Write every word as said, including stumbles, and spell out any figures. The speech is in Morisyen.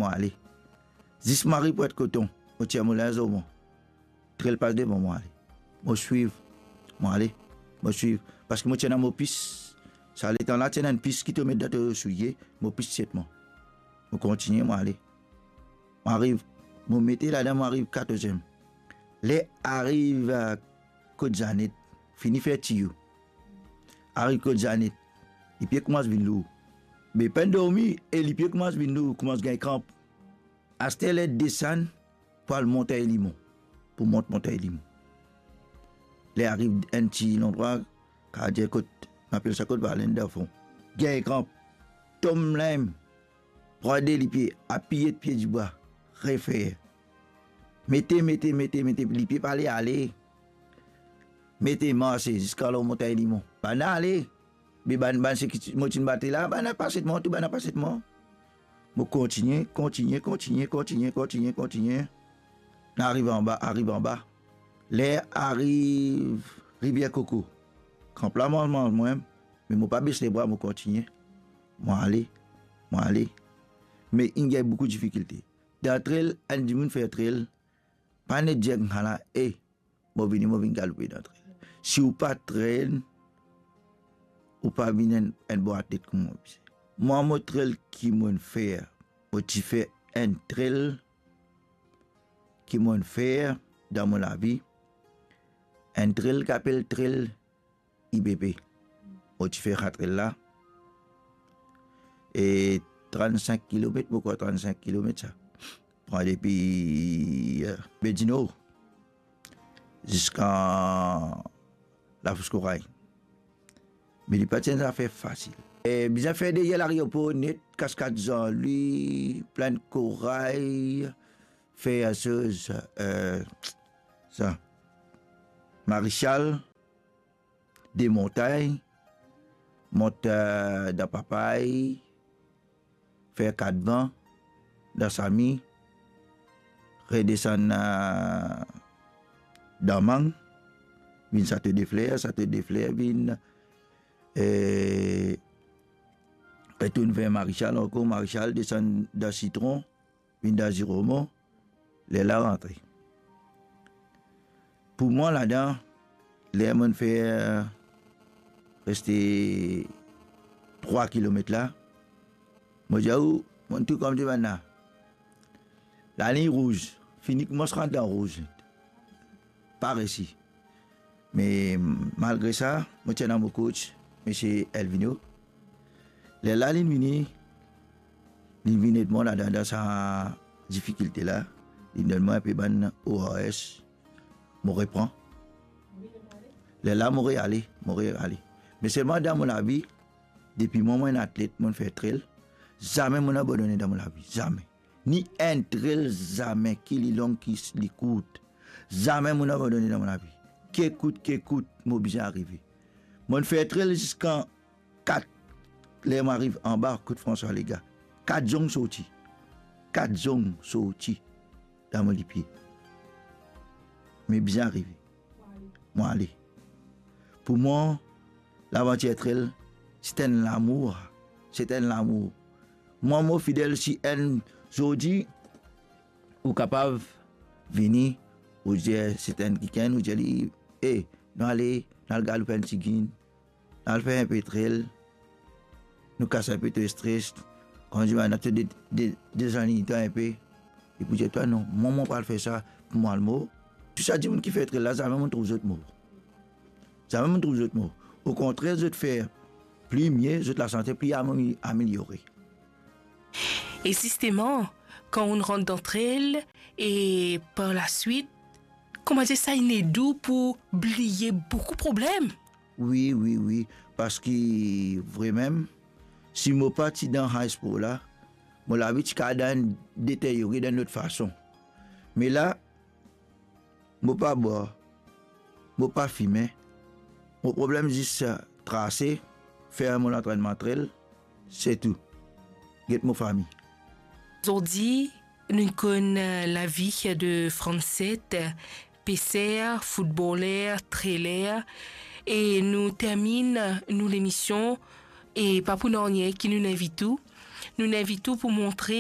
mo ale. Zis mo ariv Pwent Koton, mo tir mo linz lor mwa. Trel pas devan, mo ale. Mo swiv, mo ale, mo swiv. Parski mo ti ena mo pis. Sa letan la, ti ena enn pis ki to met dan to soulie, mo pis ti et mwa. Mo kontigne, mo ale. Mo ariv, mo mete ladan, mo ariv katorz-iem. Ler ariv, eh, kot Zanet, fini fer tiyo. Ariv kot Zanet, lipie koumans vinn lour. Me pa'nn dormi e lipie koumans vinn lour, koumans gagn kranp. Aster ler desann pou al Montagn Limon, pou mont Montagn Limon. Ler ariv enn ti landrwa, kapav dir kot, nou apel sa kot Valin dan fon. Gagn kranp, tom la mem, pran de lipie, apiye pie dibwa, refer. Mete, mete, mete, mete, lipie pa le ale. Mete, marse ziska lor Montagn Limon. Bann ale. Me bann, bann seki ti, mo ti bat la, bann la pas et mwa, tou bann la pas et mwa. Mo kontigne, kontigne, kontigne, kontigne, kontigne, kontigne. Nou ariv anba, ariv anba. Ler ariv Rivier Koko. Kranp la manz, manz mwa, me mo pa bes lebra, mo kontigne. Mo ale, mo ale. Me inn gagn boukou difikilte. Dan trel, enn dimoun fer trel, pa net dir koumsa la, e, mo vini, mo vinn galoupe dan trel. Si ou pa trenn, ou pa vinn enn, enn bon atlet kouma mo bizin. Mwa, mo trel ki mo'nn fer, mo ti fer enn trel ki mo'nn fer dan mo lavi, enn trel ki apel trel I B P. Mo ti fer sa trel la. E trannsink kilomet, mo krwar trannsink kilomet sa. Pran depi, eh, Bedino ziska Lafous Koray. Me li pa ti enn zafer fasil. E bizin fer deryer lareopor net, Kaskad Zanlwi, Plinn Koray, fer soz, eh, sa, Marechal, demontay, mont, eh, dan Papay, fer Katvan, dan Sami, redesann, eh, dan Mang, vinn Sato de Fler, Sato de Fler vinn, eh, retourn ver Marechal ankor, Marechal desann dan Sitron, vinn dan Ziromo, lerla rantre. Pou mwa ladan, ler mo'nn fer reste trwa kilomet la, mo dir ou, mo'nn tou kouma dir bann la, lalign rouz, fini koumans rant dan rouz. Pa resi. Me malgre sa, mo ti ena mo coach, misie Elvino. Lerla linn vini, linn vinn ed mwa ladan, dan sa difikilte la. Linn donn mwa enpe bann O R S, mo repran. Lerla mo reale, mo reale. Me selman dan mo lavi, depi mwa mo enn atlet, mo'nn fer trel, zame mo'nn abandone dan mo lavi, zame. Ni enn trel zame, ki li long, ki s-, li kourt. Zame mo'nn abandone dan mo lavi. Ki kout, ki kout, mo bizin arive. Mo'nn fer trel ziska kat, ler mo ariv anba kot François Lega. Kat zong sorti. Kat zong sorti dan mo lipie. Me bizin arive. Mo ale. Pou mwa, lavantir trel, se enn lamour, se enn lamour. Mwa, mo fidel si enn zordi, ou kapav vini, ou dir, se enn kikenn, ou dir li, "E, nou ale, nou al galoup enn tigit, nou al fer enpe trel, nou kas enpe to stres, kan nou al de, de, dezalinye twa enpe." Li pou dir twa, "Non, mwa, mo pa'l fer sa pou mo al mor." Tou sa dimoun ki fer trel la, zame mo'nn trouv zot mor. Zame mo'nn trouv zot mor. Okontrer, zot fer pli mie, zot lasante pli ame-, ameliore. E zisteman, kan ou rant dan trel, e par laswit, kouma dir sa, inn ed ou pou bliye boukou problem. Wi, wi, wi. Parski vremem, si mo pa ti dan high sport la, mo lavi ti kapav deteryore dan enn lot fason. Me la, mo pa bwar, mo pa fime. Mo problem zis trase, fer mo lantrennman trel, se tou. Get mo fami. Zordi, nou konn, eh, lavi de Francet, peser, foutboler, treler, e nou terminn nou lemision, e pa pou nanye ki nou invit ou. Nou invit ou pou montre